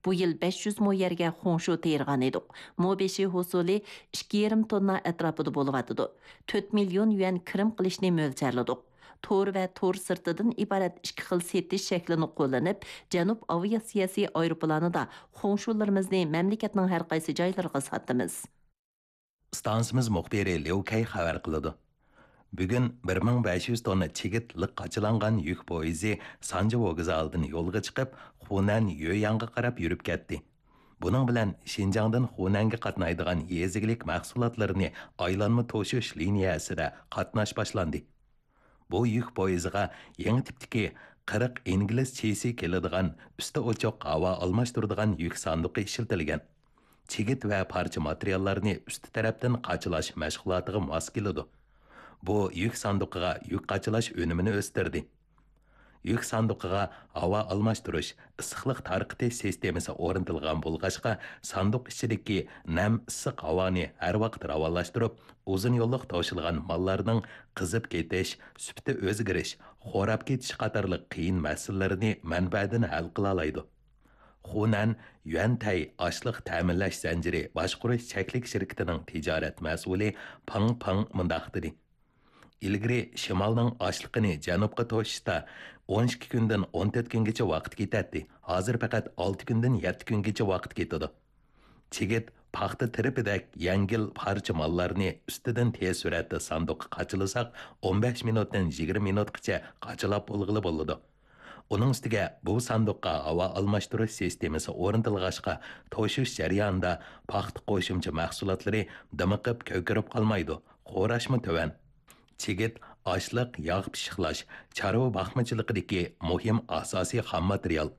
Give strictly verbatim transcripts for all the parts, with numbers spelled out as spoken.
بۇ يىل بەش يۈز مو يەرگە خۇڭشۇ تېرىغان ئىدۇق. مو بېشى ھوسۇلى ئىككى يېرىم توننا ئەتراپىدا بولۇۋاتىدۇ. تۆت مىليون يۈەن كىرىم قىلىشنى مۆلچەرلىدۇق. تور ۋە تور سىرتىدىن ئىبارەت ئىككى خىل سېتىش شەكلىنى قوللىنىپ، جەنۇب ئاۋىئاتسىيەسى ئايروپىلانىدا خۇڭشۇلىرىمىزنى مەملىكەتنىڭ ھەر قايسى جايلىرىغا ساتىمىز. ئىستانسىمىز مۇخبىرى ليۇ كەي خەۋەر قىلىدۇ. بۈگۈن بىر مىڭ بەش يۈز توننا چىگىت لىق قاچىلانغان يۈك پويىزى سانجى ۋوگزالىدىن يولغا چىقىپ، خۇنەن يۆيەنغا قاراپ يۈرۈپ كەتتى. بۇنىڭ بىلەن شىنجاڭدىن خۇنەنگە قاتنايدىغان يېزا ئىگىلىك مەھسۇلاتلىرىنى ئايلانما توشۇش لىنىيەسىدە قاتناش باشلاندى. بۇ يۈك پويىزىغا يېڭى تىپتىكى قىرىق ئىنگلىز چىسى كېلىدىغان ئۈستى ئوچۇق ھاۋا ئالماشتۇرىدىغان يۈك ساندۇقى ئىشلىتىلگەن. چىگىت ۋە پارچە ماتېرىياللارنى ئۈستى تەرەپتىن قاچىلاش مەشغۇلاتىغا ماس كېلىدۇ. بۇ يۈك ساندۇقىغا يۈك قاچىلاش ئۈنۈمىنى ئۆستۈردى. يۈك ساندۇقىغا ھاۋا ئالماشتۇرۇش، ئىسسىقلىق تارقىتىش سىستېمىسى ئورنىتىلغان بولغاچقا، ساندۇق ئىچىدىكى نەم ئىسسىق ھاۋانى ھەر ۋاقىت راۋانلاشتۇرۇپ، ئۇزۇن يوللۇق توشۇلغان ماللارنىڭ قىزىپ كېتىش، سۈپىتى ئۆزگىرىش، خوراپ كېتىش قاتارلىق قىيىن مەسىلىلىرىنى مەنبەدىن ھەل قىلالايدۇ. خۇنەن يۈەنتەي ئاشلىق تەمىنلەش زەنجىرى باشقۇرۇش چەكلىك شىركىتىنىڭ تىجارەت مەسئۇلى پېڭ پېڭ مۇنداق دېدى: ئىلگىرى شىمالنىڭ ئاشلىقىنى جەنۇبقا توشۇشتا ئون ئىككى كۈندىن ئون تۆت كۈنگىچە ۋاقىت كېتەتتى، ھازىر پەقەت ئالتە كۈندىن يەتتە كۈنگىچە ۋاقىت كېتىدۇ. چىگىت، پاختا تىرىپىدەك يەڭگىل پارچە ماللارنى ئۈستىدىن تېز سۈرئەتتە ساندۇققا قاچىلىساق، ئون بەش مىنۇتتىن يىگىرمە مىنۇتقىچە قاچىلاپ بولغىلى بولىدۇ. ئۇنىڭ ئۈستىگە بۇ ساندۇققا ھاۋا ئالماشتۇرۇش سىستېمىسى ئورنىتىلغاچقا، توشۇش جەريانىدا پاختا قوشۇمچە مەھسۇلاتلىرى دىمىقىپ كۆكىرىپ قالمايدۇ، خوراشمۇ تۆۋەن. چىگىت، ئاشلىق، ياغ پىششىقلاش، چارۋا باقمىچىلىقىدىكى مۇھىم ئاساسىي خام ماتېرىيال.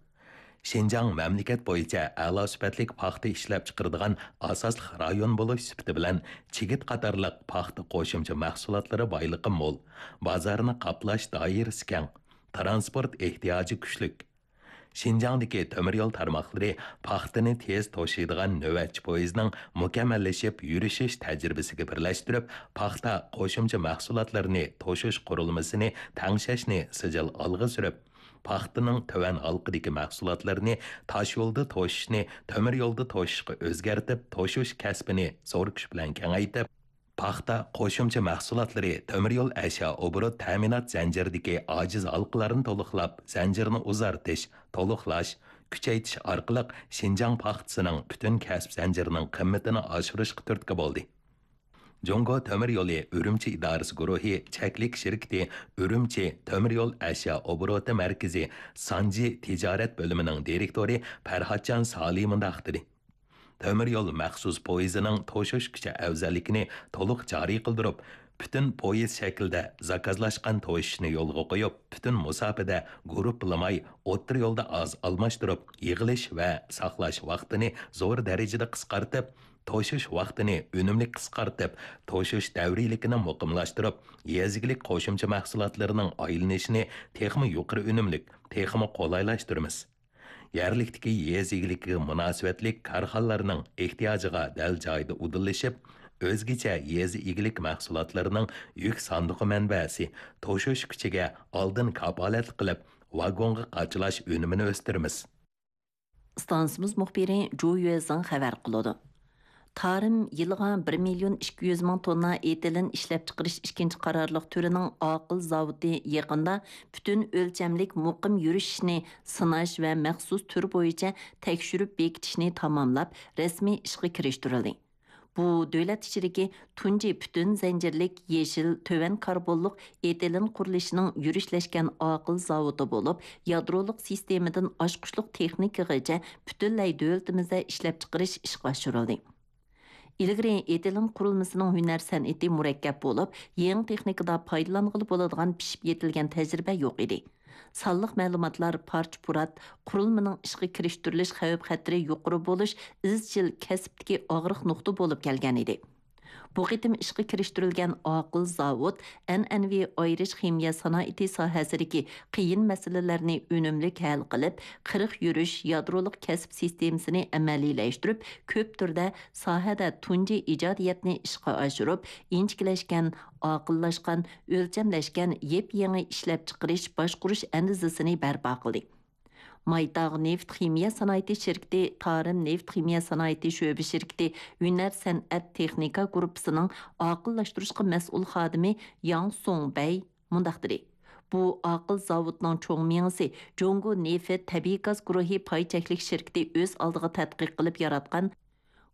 شىنجاڭ مەملىكەت بويىچە ئەلا سۈپەتلىك پاختا ئىشلەپچىقىرىدىغان ئاساسلىق رايون بولۇش سۈپىتى بىلەن، چىگىت قاتارلىق پاختا قوشۇمچە مەھسۇلاتلىرى بايلىقى مول، بازارنى قاپلاش دائىرىسى كەڭ، تىرانسپورت ئېھتىياجى كۈچلۈك. شىنجاڭدىكى تۆمۈر يول تارماقلىرى پاختىنى تېز توشۇيدىغان نۆۋەتچى پويىزنىڭ مۇكەممەللىشىپ يۈرۈشۈش تەجرىبىسىگە بىرلەشتۈرۈپ، پاختا قوشۇمچە مەھسۇلاتلىرىنى توشۇش قۇرۇلمىسىنى تەڭشەشنى سىجىل ئالغا سۈرۈپ، پاختىنىڭ تۆۋەن ھالقىدىكى مەھسۇلاتلىرىنى تاشيولدا توشۇشنى تۆمۈر يولدا توشۇشقا ئۆزگەرتىپ، توشۇش كەسپىنى زور كۈچ بىلەن كېڭەيتىپ، پاختا قوشۇمچە مەھسۇلاتلىرى تۆمۈر يول ئەشيا ئوبوروت تەمىنات زەنجىرىدىكى ئاجىز ھالقىلارنى تولۇقلاپ، زەنجىرنى ئۇزارتىش، تولۇقلاش، كۈچەيتىش ئارقىلىق شىنجاڭ پاختىسىنىڭ پۈتۈن كەسىپ زەنجىرىنىڭ قىممىتىنى ئاشۇرۇشقا تۈرتكە بولدى. جۇڭگو تۆمۈر يولى ئۈرۈمچى ئىدارىسى گۇرۇھى چەكلىك شىركىتى ئۈرۈمچى تۆمۈر يول ئەشيا ئوبوروتى مەركىزى سانجى تىجارەت بۆلۈمىنىڭ دىرېكتورى پەرھاتجان سالى مۇنداق دېدى: تۆمۈر يول مەخسۇس پويىزىنىڭ توشۇش كۈچى ئەۋزەللىكىنى تولۇق جارى قىلدۇرۇپ، پۈتۈن پويىز شەكلىدە زاكازلاشقان توشۇشنى يولغا قويۇپ، پۈتۈن مۇساپىدە گۇرۇپپىلىماي، ئوتتۇرا يولدا ئاز ئالماشتۇرۇپ، يىغىلىش ۋە ساقلاش ۋاقتىنى زور دەرىجىدە قىسقارتىپ، توشۇش ۋاقتىنى ئۈنۈملۈك قىسقارتىپ، توشۇش دەۋرىيلىكىنى مۇقىملاشتۇرۇپ، يېزا ئىگىلىك قوشۇمچە مەھسۇلاتلىرىنىڭ ئايلىنىشىنى تېخىمۇ يۇقىرى ئۈنۈملۈك، تېخىمۇ قولايلاشتۇرىمىز. يەرلىكتىكى يېزا ئىگىلىكىگە مۇناسىۋەتلىك كارخانىلارنىڭ ئېھتىياجىغا دەل جايىدا ئۇدۇللىشىپ، ئۆزگىچە يېزا ئىگىلىك مەھسۇلاتلىرىنىڭ يۈك ساندۇقى مەنبەسى، توشۇش كۈچىگە ئالدىن كاپالەتلىك قىلىپ، ۋاگونغا قاچىلاش ئۈنۈمىنى ئۆستۈرىمىز. ئىستانسىمىز مۇخبىرى جۇ يۈەزىڭ خەۋەر قىلىدۇ. تارىم يىلىغا بىر مىليون ئىككى يۈز مىڭ توننا ئېتىلېن ئىشلەپچىقىرىش ئىككىنچى قارارلىق تۈرىنىڭ ئاقىل زاۋۇتى يېقىندا پۈتۈن ئۆلچەملىك مۇقىم يۈرۈشۈشنى سىناش ۋە مەخسۇس تۈر بويىچە تەكشۈرۈپ بېكىتىشنى تاماملاپ، رەسمىي ئىشقا كىرىشتۈرۈلدى. بۇ دۆلەت ئىچىدىكى تۇنجى پۈتۈن زەنجىرلىك يېشىل، تۆۋەن كاربونلۇق ئېتىلېن قۇرۇلۇشىنىڭ يۈرۈشلەشكەن ئاقىل زاۋۇتى بولۇپ، يادرولۇق سىستېمىدىن ئاچقۇچلۇق تېخنىكىغىچە پۈتۈنلەي دۆلىتىمىزدە ئىشلەپچىقىرىش ئىشقا ئاشۇرۇلدى. ئىلگىرى ئېتىلېن قۇرۇلمىسىنىڭ ھۈنەر سەنئىتى مۇرەككەپ بولۇپ، يېڭى تېخنىكىدا پايدىلانغىلى بولىدىغان پىشىپ يېتىلگەن تەجرىبە يوق ئىدى. سانلىق مەلۇماتلار پارچە-پۇرات، قۇرۇلمىنىڭ ئىشقا كىرىشتۈرۈلۈش خەۋپ-خەتىرى يۇقىرى بولۇش ئىزچىل كەسىپتىكى ئاغرىق نۇقتا بولۇپ كەلگەن ئىدى. بۇ قېتىم ئىشقا كىرىشتۈرۈلگەن ئاقىل زاۋۇت ئەنئەنىۋى ئايرىش خىمىيە سانائىتى ساھەسىدىكى قىيىن مەسىلىلەرنى ئۈنۈملۈك ھەل قىلىپ، قىرىق يۈرۈش يادرولۇق كەسىپ سىستېمىسىنى ئەمەلىيلەشتۈرۈپ، كۆپ تۈردە ساھەدە تۇنجى ئىجادىيەتنى ئىشقا ئاشۇرۇپ، ئىنچىكىلەشكەن، ئاقىللاشقان، ئۆلچەملەشكەن يېپيېڭى ئىشلەپچىقىرىش، باشقۇرۇش ئەندىزىسىنى بەرپا قىلدى. مايتاغ نېفىت خىمىيە سانائىتى شىركىتى تارىم نېفىت خىمىيە سانائىتى شۆبە شىركىتى ھۈنەر سەنئەت تېخنىكا گۇرۇپپىسىنىڭ ئاقىللاشتۇرۇشقا مەسئۇل خادىمى ياڭ سۇڭبەي مۇنداق دېدى: بۇ ئاقىل زاۋۇتنىڭ چوڭ مېڭىسى جۇڭگو نېفىت تەبىئىي گاز گۇرۇھى پاي چەكلىك شىركىتى ئۆز ئالدىغا تەتقىق قىلىپ ياراتقان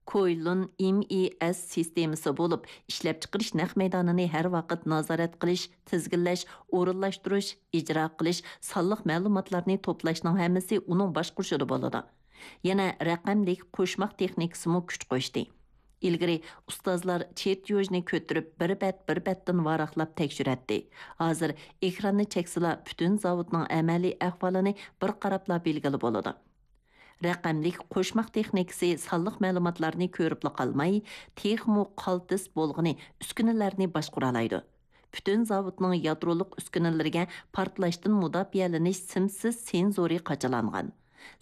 كويلۇن ئېم ئى ئېس سىستېمىسى بولۇپ، ئىشلەپچىقىرىش نەق مەيدانىنى ھەر ۋاقىت نازارەت قىلىش، تىزگىنلەش، ئورۇنلاشتۇرۇش، ئىجرا قىلىش، سانلىق مەلۇماتلارنى توپلاشنىڭ ھەممىسى ئۇنىڭ باشقۇرۇشىدا بولىدۇ. يەنە رەقەملىك قوشماق تېخنىكىسىمۇ كۈچ قوشتى. ئىلگىرى ئۇستازلار چېرتيوژنى كۆتۈرۈپ، بىر بەت بىر بەتتىن ۋاراقلاپ تەكشۈرەتتى. ھازىر ئېكراننى چەكسىلا، پۈتۈن زاۋۇتنىڭ ئەمەلىي ئەھۋالىنى بىر قاراپلا بىلگىلى بولىدۇ. رەقەملىك قوشماق تېخنىكىسى سانلىق مەلۇماتلارنى كۆرۈپلا قالماي، تېخىمۇ قالتىس بولغىنى ئۈسكۈنىلەرنى باشقۇرالايدۇ. پۈتۈن زاۋۇتنىڭ يادرولۇق ئۈسكۈنىلىرىگە پارتلاشتىن مۇداپىئەلىنىش سىمسىز سېنزورى قاچىلانغان.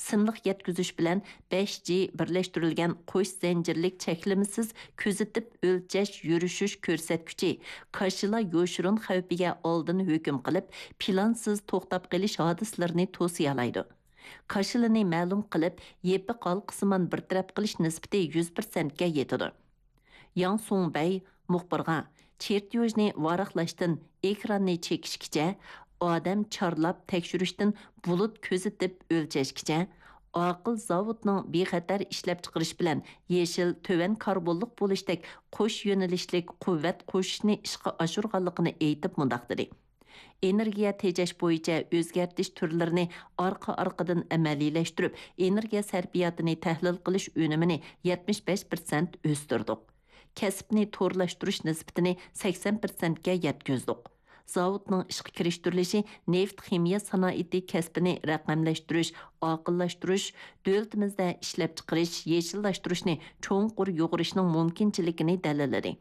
سىملىق يەتكۈزۈش بىلەن بەش جى بىرلەشتۈرۈلگەن قوش زەنجىرلىك چەكلىمىسىز كۆزىتىپ ئۆلچەش يۈرۈشۈش كۆرسەتكۈچى كاشىلا يوشۇرۇن خەۋپىگە ئالدىن ھۆكۈم قىلىپ، پىلانسىز توختاپ قېلىش ھادىسىلىرىنى توسىيالايدۇ. كاشىلىنى مەلۇم قىلىپ، يېپىق ھالقىسىمان بىر تەرەپ قىلىش نىسبىتى يۈز پىرسەنتكە يېتىدۇ. ياڭ سۇڭبەي مۇخبىرغا چېرتيوژنى ۋاراقلاشتىن ئېكراننى چېكىشكىچە، ئادەم چارلاپ تەكشۈرۈشتىن بۇلۇت كۆزىتىپ ئۆلچەشكىچە، ئاقىل زاۋۇتنىڭ بىخەتەر ئىشلەپچىقىرىش بىلەن يېشىل تۆۋەن كاربونلۇق بولۇشتەك قوش يۆنىلىشلىك قۇۋۋەت قوشۇشنى ئىشقا ئاشۇرغانلىقىنى ئېيتىپ مۇنداق دېدى: ئېنېرگىيە تېجەش بويىچە ئۆزگەرتىش تۈرلىرىنى ئارقا-ئارقىدىن ئەمەلىيلەشتۈرۈپ، ئېنېرگىيە سەرپىياتىنى تەھلىل قىلىش ئۈنۈمىنى يەتمىش بەش پىرسەنت ئۆستۈردۇق. كەسىپنى تورلاشتۇرۇش نىسبىتىنى سەكسەن پىرسەنتكە يەتكۈزدۇق. زاۋۇتنىڭ ئىشقا كىرىشتۈرۈلۈشى نېفىت خىمىيە سانائىتى كەسپىنى رەقەملەشتۈرۈش، ئاقىللاشتۇرۇش، دۆلىتىمىزدە ئىشلەپچىقىرىش، يېشىللاشتۇرۇشنى چوڭقۇر يۇغۇرۇشنىڭ مۇمكىنچىلىكىنى دەلىللىدى.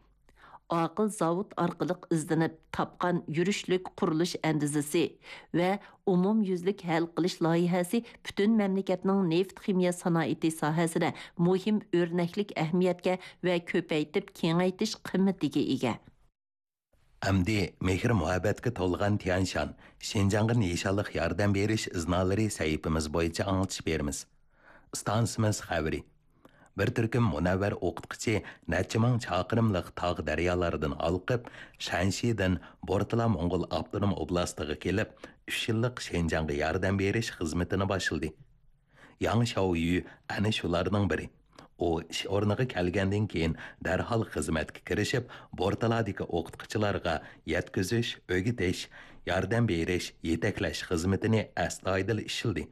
ئاقىل زاۋۇت ئارقىلىق ئىزدىنىپ تاپقان يۈرۈشلۈك قۇرۇلۇش ئەندىزىسى ۋە ئومۇميۈزلۈك ھەل قىلىش لايىھەسى پۈتۈن مەملىكەتنىڭ نېفىت خىمىيە سانائىتى ساھەسىدە مۇھىم ئۆرنەكلىك ئەھمىيەتكە ۋە كۆپەيتىپ كېڭەيتىش قىممىتىگە ئىگە. ئەمدى مېھىر-مۇھەببەتكە تولغان تيەنشان، شىنجاڭغا نىشانلىق ياردەم بېرىش ئىزنالىرى سەھىپىمىز بويىچە ئاڭلىتىش بېرىمىز. ئىستانسىمىز خەۋىرى. بىر تۈركۈم مۇنەۋۋەر ئوقۇتقۇچى نەچچە مىڭ چاقىرىملىق تاغ دەريالاردىن ھالقىپ، شەنشىدىن بورتالا موڭغۇل ئاپتونوم ئوبلاستىغا كېلىپ، ئۈچ يىللىق شىنجاڭغا ياردەم بېرىش خىزمىتىنى باشلىدى. ياڭ شياۋيۈ ئەنە شۇلارنىڭ بىرى. ئۇ ئىش ئورنىغا كەلگەندىن كېيىن، دەرھال خىزمەتكە كىرىشىپ، بورتالادىكى ئوقۇتقۇچىلارغا يەتكۈزۈش، ئۆگىتىش، ياردەم بېرىش، يېتەكلەش خىزمىتىنى ئەستايىدىل ئىشلىدى.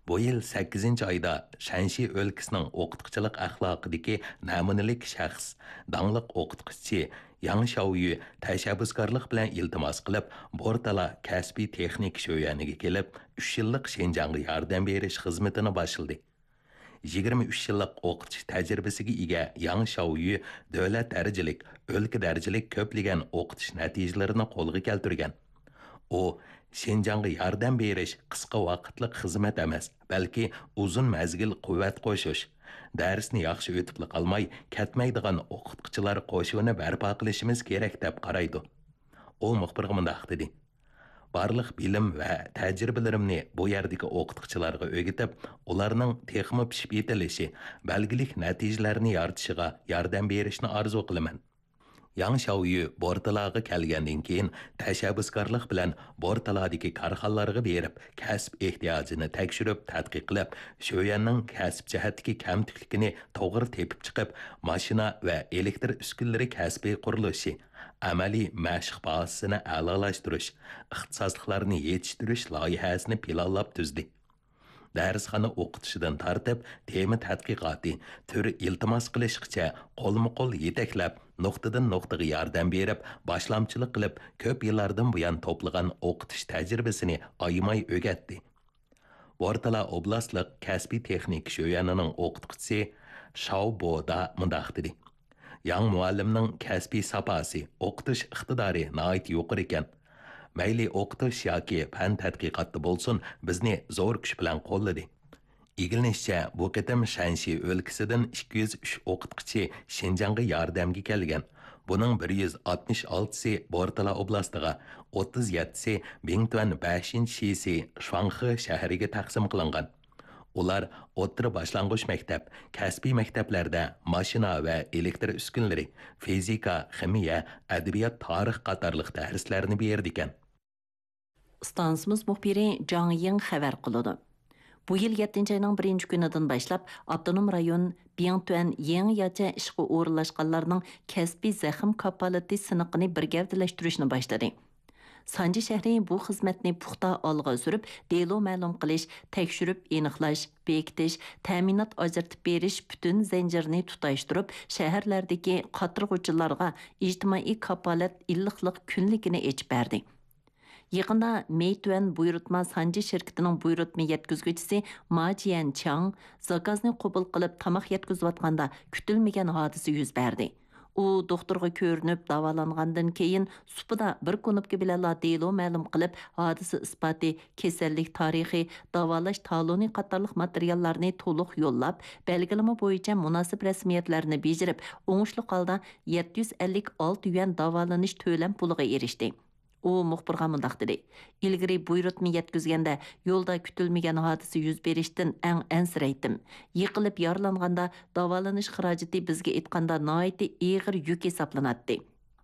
بۇ يىل سەككىزىنچى ئايدا شەنشى ئۆلكىسىنىڭ ئوقۇتقۇچىلىق ئەخلاقىدىكى نەمۇنىلىك شەخس، داڭلىق ئوقۇتقۇچى ياڭ شياۋيۈ تەشەببۇسكارلىق بىلەن ئىلتىماس قىلىپ، بورتالا كەسپىي تېخنىكا شۆيۈەنىگە كېلىپ، ئۈچ يىللىق شىنجاڭغا ياردەم بېرىش خىزمىتىنى باشلىدى. يىگىرمە ئۈچ يىللىق ئوقۇتۇش تەجرىبىسىگە ئىگە ياڭ شياۋيۈ دۆلەت دەرىجىلىك، ئۆلكە دەرىجىلىك كۆپلىگەن ئوقۇتۇش نەتىجىلىرىنى قولغا كەلتۈرگەن. ئۇ، شىنجاڭغا ياردەم بېرىش قىسقا ۋاقىتلىق خىزمەت ئەمەس، بەلكى ئۇزۇن مەزگىل قۇۋۋەت قوشۇش، دەرسنى ياخشى ئۆتۈپلا قالماي، كەتمەيدىغان ئوقۇتقۇچىلار قوشۇنى بەرپا قىلىشىمىز كېرەك، دەپ قارايدۇ. ئۇ مۇخبىرغا مۇنداق دېدى: بارلىق بىلىم ۋە تەجرىبىلىرىمنى بۇ يەردىكى ئوقۇتقۇچىلارغا ئۆگىتىپ، ئۇلارنىڭ تېخىمۇ پىشىپ يېتىلىشى، بەلگىلىك نەتىجىلەرنى يارىتىشىغا ياردەم بېرىشنى ئارزۇ قىلىمەن. ياڭ شياۋيۈ بورتالاغا كەلگەندىن كېيىن، تەشەببۇسكارلىق بىلەن بورتالادىكى كارخانىلارغا بېرىپ، كەسىپ ئېھتىياجىنى تەكشۈرۈپ، تەتقىق قىلىپ، شۆيۈەننىڭ كەسىپ جەھەتتىكى كەمتۈكلۈكىنى توغرا تېپىپ چىقىپ، ماشىنا ۋە ئېلېكتر ئۈسكۈنىلىرى كەسپى قۇرۇلۇشى، ئەمەلىي مەشىق بازىسىنى ئەلالاشتۇرۇش، ئىختىساسلىقلارنى يېتىشتۈرۈش لايىھەسىنى پىلانلاپ تۈزدى. دەرسخانا ئوقۇتۇشىدىن تارتىپ، تېما تەتقىقاتى، تۈر ئىلتىماس قىلىشقىچە قولمۇ قول يېتەكلەپ، نۇقتىدىن نۇقتىغا ياردەم بېرىپ، باشلامچىلىق قىلىپ، كۆپ يىللاردىن بۇيان توپلىغان ئوقۇتۇش تەجرىبىسىنى ئايىماي ئۆگەتتى. بورتالا ئوبلاستلىق كەسپىي تېخنىكا شۆيۈەنىنىڭ ئوقۇتقۇچىسى شاۋ بودا مۇنداق دېدى: ياڭ مۇئەللىمنىڭ كەسپىي ساپاسى، ئوقۇتۇش ئىقتىدارى ناھايىتى يۇقىرى ئىكەن. مەيلى ئوقۇتۇش ياكى پەن تەتقىقاتتا بولسۇن، بىزنى زور كۈچ بىلەن قوللىدى. ئىگىلىنىشىچە، بۇ قېتىم شەنشى ئۆلكىسىدىن ئىككى يۈز ئۈچ ئوقۇتقۇچى شىنجاڭغا ياردەمگە كەلگەن. بۇنىڭ بىر يۈز ئاتمىش ئالتىسى بورتالا ئوبلاستىغا، ئوتتۇز يەتتىسى بىڭتۈەن بەشىنچى شىسى شۇاڭخې شەھىرىگە تەقسىم قىلىنغان. ئۇلار ئوتتۇرا باشلانغۇچ مەكتەپ، كەسپىي مەكتەپلەردە ماشىنا ۋە ئېلېكتر ئۈسكۈنىلىرى، فىزىكا، خىمىيە، ئەدەبىيات، تارىخ قاتارلىق دەرسلەرنى بېرىدىكەن. ئىستانسىمىز مۇخبىرى جاڭ يىڭ خەۋەر قىلىدۇ. بۇ يىل يەتتىنچى ئاينىڭ بىرىنچى كۈنىدىن باشلاپ، ئاپتونوم رايون بىڭتۈەن يېڭىچە ئىشقا ئورۇنلاشقانلارنىڭ كەسپىي زەخىم كاپالىتى سىنىقىنى بىر گەۋدىلەشتۈرۈشنى باشلىدى. سانجى شەھىرى بۇ خىزمەتنى پۇختا ئالغا سۈرۈپ، دېلو مەلۇم قىلىش، تەكشۈرۈپ ئېنىقلاش، بېكىتىش، تەمىنات ئاجرىتىپ بېرىش پۈتۈن زەنجىرىنى تۇتاشتۇرۇپ، شەھەرلەردىكى قاترىغۇچىلارغا ئىجتىمائىي كاپالەت ئىللىقلىق كۈنلۈكىنى ئېچىپ بەردى. يېقىندا مېيتۈەن بۇيرۇتما سانجى شىركىتىنىڭ بۇيرۇتما يەتكۈزگۈچىسى ما جيەنچياڭ زاكازنى قوبۇل قىلىپ تاماق يەتكۈزۈۋاتقاندا كۈتۈلمىگەن ھادىسە يۈز بەردى. ئۇ دوختۇرغا كۆرۈنۈپ داۋالانغاندىن كېيىن، سۇپىدا بىر كۇنۇپكا بىلەنلا دېلو مەلۇم قىلىپ، ھادىسە ئىسپاتى، كېسەللىك تارىخى، داۋالاش تالونى قاتارلىق ماتېرىياللارنى تولۇق يوللاپ، بەلگىلىمە بويىچە مۇناسىپ رەسمىيەتلەرنى بېجىرىپ، ئوڭۇشلۇق ھالدا يەتتە يۈز ئەللىك ئالتە يۈەن داۋالىنىش تۆلەم پۇلىغا ئېرىشتى. ئۇ مۇخبىرغا مۇنداق دېدى: «ئىلگىرى بۇيرۇتما يەتكۈزگەندە يولدا كۈتۈلمىگەن ھادىسە يۈز بېرىشتىن ئەڭ ئەنسىرەيتتىم. يىقىلىپ يارىلانغاندا داۋالىنىش خىراجىتى بىزگە ئېيتقاندا ناھايىتى ئېغىر يۈك ھېسابلىناتتى.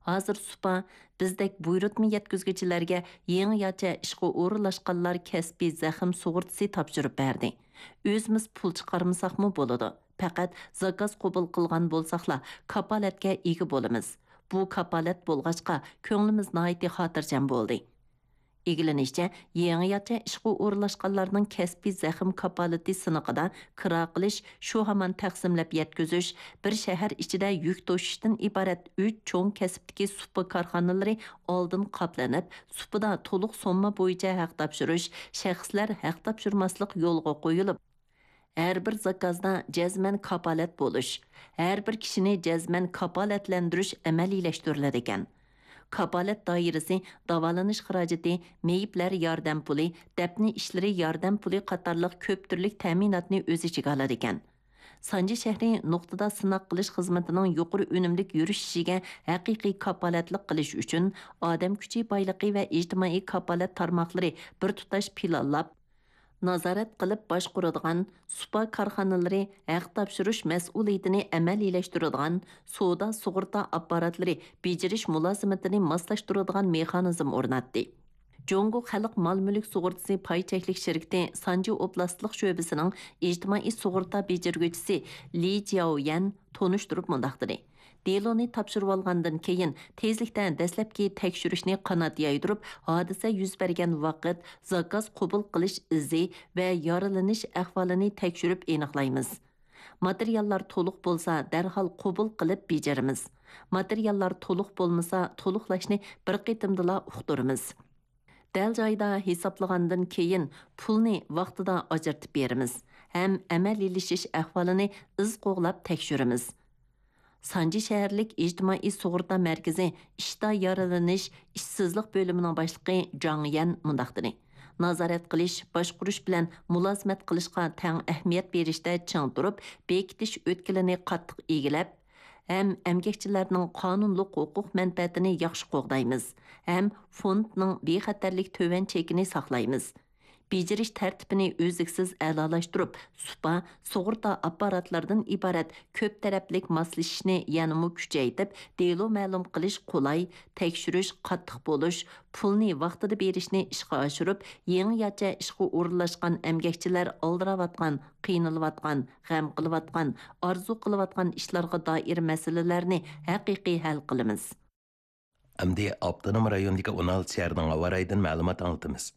ھازىر سۇپا بىزدەك بۇيرۇتما يەتكۈزگۈچىلەرگە يېڭىچە ئىشقا ئورۇنلاشقانلار كەسپىي زەخىم سۇغۇرتىسى تاپشۇرۇپ بەردى. ئۆزىمىز پۇل چىقارمىساقمۇ بولىدۇ. پەقەت زاكاز قوبۇل قىلغان بولساقلا، كاپالەتكە ئىگە بولىمىز. بۇ كاپالەت بولغاچقا، كۆڭلىمىز ناھايىتى خاتىرجەم بولدى.» ئىگىلىنىشىچە، يېڭىچە ئىشقا ئورۇنلاشقانلارنىڭ كەسپىي زەخىم كاپالىتى سىنىقىدا كىرا قىلىش، شۇ ھامان تەقسىملەپ يەتكۈزۈش، بىر شەھەر ئىچىدە يۈك توشۇشتىن ئىبارەت ئۈچ چوڭ كەسىپتىكى سۇپا كارخانىلىرى ئالدىن قاپلىنىپ، سۇپىدا تولۇق سومما بويىچە ھەق تاپشۇرۇش، شەخسلەر ھەق تاپشۇرماسلىق يولغا قويۇلۇپ، ھەر بىر زاكازدا جەزمەن كاپالەت بولۇش، ھەر بىر كىشىنى جەزمەن كاپالەتلەندۈرۈش ئەمەلىيلەشتۈرۈلىدىكەن. كاپالەت دائىرىسى داۋالىنىش خىراجىتى، مېيىپلەر ياردەم پۇلى، دەپنە ئىشلىرى ياردەم پۇلى قاتارلىق كۆپ تۈرلۈك تەمىناتنى ئۆز ئىچىگە ئالىدىكەن. سانجى شەھىرى نۇقتىدا سىناق قىلىش خىزمىتىنىڭ يۇقىرى ئۈنۈملۈك يۈرۈشۈشىگە ھەقىقىي كاپالەتلىك قىلىش ئۈچۈن، ئادەم كۈچى بايلىقى ۋە ئىجتىمائىي كاپالەت تارماقلىرى بىر تۇتاش پىلانلاپ، نازارەت قىلىپ باشقۇرىدىغان سۇپا كارخانىلىرى ھەق تاپشۇرۇش مەسئۇلىيىتىنى ئەمەلىيلەشتۈرىدىغان سودا سۇغۇرتا ئاپپاراتلىرى بېجىرىش مۇلازىمىتىنى ماسلاشتۇرىدىغان مېخانىزم ئورناتتى. جۇڭگو خەلق مال مۈلۈك سۇغۇرتىسى پاي چەكلىك شىركىتى سانجى ئوبلاستلىق شۆبىسىنىڭ ئىجتىمائىي سۇغۇرتا بېجىرگۈچىسى لى جياۋيەن تونۇشتۇرۇپ مۇنداق دېدى: «دېلونى تاپشۇرۇۋالغاندىن كېيىن، تېزلىكتە دەسلەپكى تەكشۈرۈشنى قانات يايدۇرۇپ، ھادىسە يۈز بەرگەن ۋاقىت، زاكاز قوبۇل قىلىش ئىزى ۋە يارىلىنىش ئەھۋالىنى تەكشۈرۈپ ئېنىقلايمىز. ماتېرىياللار تولۇق بولسا، دەرھال قوبۇل قىلىپ بېجىرىمىز. ماتېرىياللار تولۇق بولمىسا، تولۇقلاشنى بىر قېتىمدىلا ئۇقتۇرىمىز. دەل جايىدا ھېسابلىغاندىن كېيىن، پۇلنى ۋاقتىدا ئاجرىتىپ بېرىمىز ھەم ئەمەلىيلىشىش ئەھۋالىنى ئىز قوغلاپ تەكشۈرىمىز.» سانجى شەھەرلىك ئىجتىمائىي سۇغۇرتا مەركىزى ئىشتا يارىلىنىش، ئىشسىزلىق بۆلۈمىنىڭ باشلىقى جاڭ يەن مۇنداق دېدى: «نازارەت قىلىش، باشقۇرۇش بىلەن مۇلازىمەت قىلىشقا تەڭ ئەھمىيەت بېرىشتە چىڭ تۇرۇپ، بېكىتىش ئۆتكىلىنى قاتتىق ئىگىلەپ، ھەم ئەمگەكچىلەرنىڭ قانۇنلۇق ھوقۇق مەنپەئەتىنى ياخشى قوغدايمىز ھەم فوندنىڭ بىخەتەرلىك تۆۋەن چېكىنى ساقلايمىز. بېجىرىش تەرتىپىنى ئۈزلۈكسىز ئەلالاشتۇرۇپ، سۇپا، سۇغۇرتا ئاپپاراتلىرىدىن ئىبارەت كۆپ تەرەپلىك ماسلىشىشنى يەنىمۇ كۈچەيتىپ، دېلو مەلۇم قىلىش قولاي، تەكشۈرۈش قاتتىق بولۇش، پۇلنى ۋاقتىدا بېرىشنى ئىشقا ئاشۇرۇپ، يېڭىچە ئىشقا ئورۇنلاشقان ئەمگەكچىلەر ئالدىراۋاتقان، قىينىلىۋاتقان، غەم قىلىۋاتقان، ئارزۇ قىلىۋاتقان ئىشلارغا دائىر مەسىلىلەرنى ھەقىقىي ھەل قىلىمىز.» ئەمدى ئاپتونوم رايوندىكى ئون ئالتە شەھەرنىڭ ھاۋا رايىدىن مەلۇمات ئاڭلىتىمىز.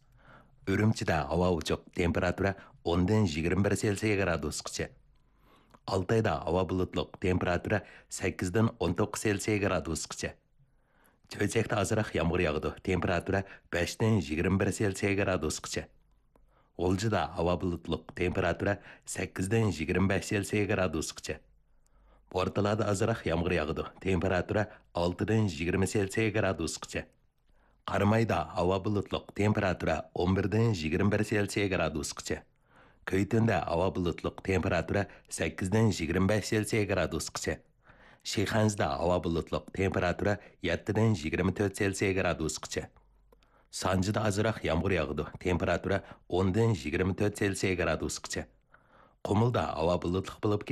ئۈرۈمچىدە ھاۋا ئوچۇق، تېمپېراتۇرا ئوندىن يىگىرمە بىر سېلسىيە گرادۇسقىچە. ئالتايدا ھاۋا بۇلۇتلۇق، تېمپېراتۇرا سەككىزدىن ئون توققۇز سېلسىيە گرادۇسقىچە. چۆچەكتە ئازراق يامغۇر ياغىدۇ، تېمپېراتۇرا بەشتىن يىگىرمە بىر سېلسىيە گرادۇسقىچە. غۇلجىدا ھاۋا بۇلۇتلۇق، تېمپېراتۇرا سەككىزدىن يىگىرمە بەش سېلسىيە گرادۇسقىچە. بورتالادا ئازراق يامغۇر ياغىدۇ، تېمپېراتۇرا ئالتىدىن يىگىرمە سېلسىيە گرادۇسقىچە. قارامايدا ھاۋا بۇلۇتلۇق، تېمپېراتۇرا ئون بىردىن يىگىرمە بىر سېلسىيە گرادۇسقىچە. كۈيتۈندە ھاۋا بۇلۇتلۇق، تېمپېراتۇرا سەككىزدىن يىگىرمە بەش سېلسىيە گرادۇسقىچە. شىخەنزىدە ھاۋا بۇلۇتلۇق، تېمپېراتۇرا يەتتىدىن يىگىرمە تۆت سېلسىيە گرادۇسقىچە. سانجىدا ئازراق يامغۇر ياغىدۇ، تېمپېراتۇرا ئوندىن يىگىرمە تۆت سېلسىيە گرادۇسقىچە. قۇمۇلدا ھاۋا بۇلۇتلۇق بولۇپ،